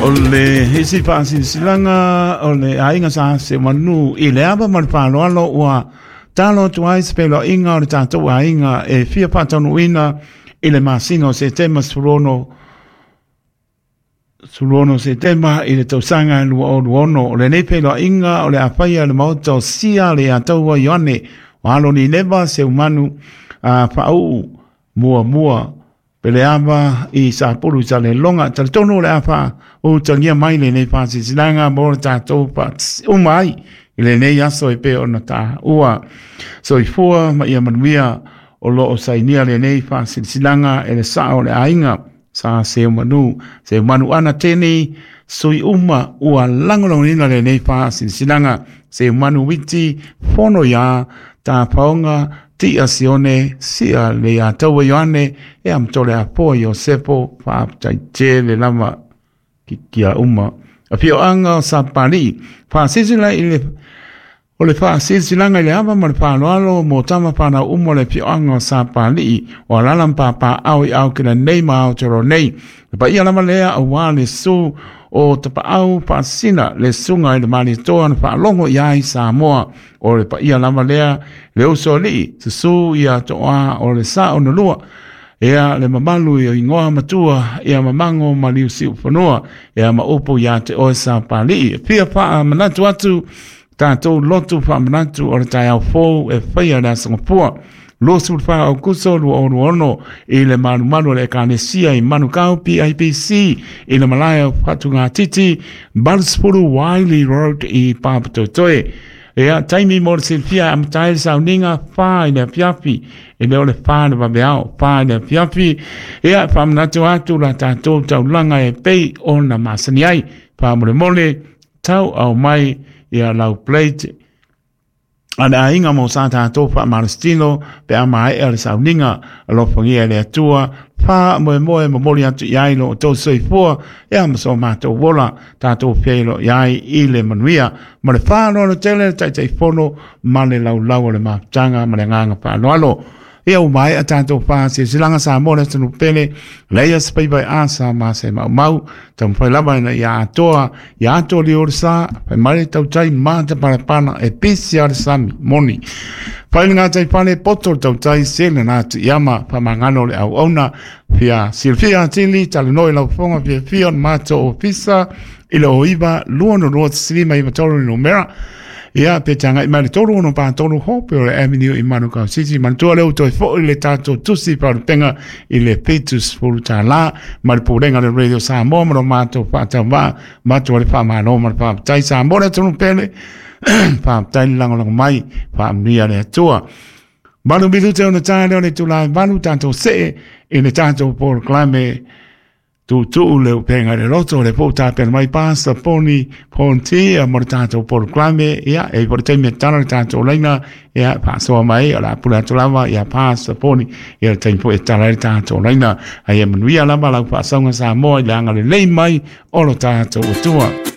O le isi faasilasilaga o le aiga sa Seumanu i le ava ma le faaaloalo ua talo atu ai se feiloaiga o le tatou aiga e fia faataunuuina i le masina o Setema 16 16 Setema i le tausaga 2026. O lenei feiloaiga o le a faia i le maota o Sia le Ataua Ioane o alo Nineva Seumanu a faauu muamua Peleava i Sapulu i Saleloga. Talitonu o le a faautagia mai lenei faasilasilaga mo le tatou uma ai i lenei aso e pei ona taua. Soifua ma ia manuia. O lo o sainia lenei faasilasilaga e le sao o le aiga sa Seumanu, Seumanu ana teni sui uma ua lagolagoina lenei faasilasilaga. Seumanu Witi, Fono ia Tafaoga, Tia Sione, Sia le ia Taua Ioane, e amatole apoa Iosepo, faafetai tele lava ki kia uma. Afioaga o Sapalii, faasilasila i le o le faasilasilaga i le ava ma le faaaloalo mo tama fanau uma o le afioaga o Sapalii, o alaala ma papaaao i Aotearoa nei ma Aotearoa nei. Le paia lava lea aua le susu o Tapaau Faasisina, le susuga i le Malietoa na faalogo i ai Samoa. O le paia lava lea le uso alii, susu ia toa o le sao na lua. Ea le mamalu i o ingoa matua, ia mamago ma liusiufanua, ea ma upu ia te oe Sapalii. E fia faamanatu atu tatou lotu faamanatu o le taeao fou e faia le Aso Gafua 24 Aokuso 2026 i le malumalu o le Ekalesia i Manukau PIPC i le malae o Fatugatiti 80 Wiley Road i Papatoetoe. Ia, taimi mo le silafia e amata ai le sauniga 4 i le afiafi, e le o le 4 i le vaveao, 4 i le afiafi. Ia, faamanatu atu la tatou taulaga e pei ona masani ai. Faamolemole, tau au mai ia lau plate a le aiga mo sa tatou faamalositino pe a maea le sauniga. Alofagia e le Atua, faamoemoe momoli atu i ai lo outou soifua ia ma so matou ola, tatou feiloai ai i le manuia ma le faaaloalo tele le Taitaifono ma le laulau o le mafutaga ma le agaga faaaloalo. Ia ua maea tatou faasilasilaga Samoa le atunuu pele, leia se faiva e asa ma se maumau, taumafai lava ina ia atoa, ia atoa liu o le sa, fai mai le tautai matapalepala e pisi a le sami, moni. Fai le gatai fale, poto le tautai, sele na atu i ama, faamagalo le auauna, fia silafia atili, talanoa i lau fofoga fiafia o le matou ofisa i le 09 202 593 le numera. Ia, pe te agai mai le 363 Hope o le Avenue i Manukau City. Manatua lea ua toe foi le tatou tusi faalupega i le $70 ma le pulega o le Radio Samoa ma lo matou faatauvaa matou le faamalo ma le faafetai. Samoa le atunuu pele, faafetai le lagolago mai, faamanuia le Atua. 8 minute ona ta lea o le itula e 8, tatou see i le tatou polokalame tuutuu le upega i le loto, le po tapena mai Pastor Poni Ponti mo le tatou polokalame. Ia, e i ai foi le taimi e tatala le tatou laina, ia, faasoa mai, o le a pule atu lava ia Pastor Poni, ia le taimi foi e tatala ai le tatou laina. A ia manuia lava lau faasauga Samoa i le agalelei mai o lo tatou Atua.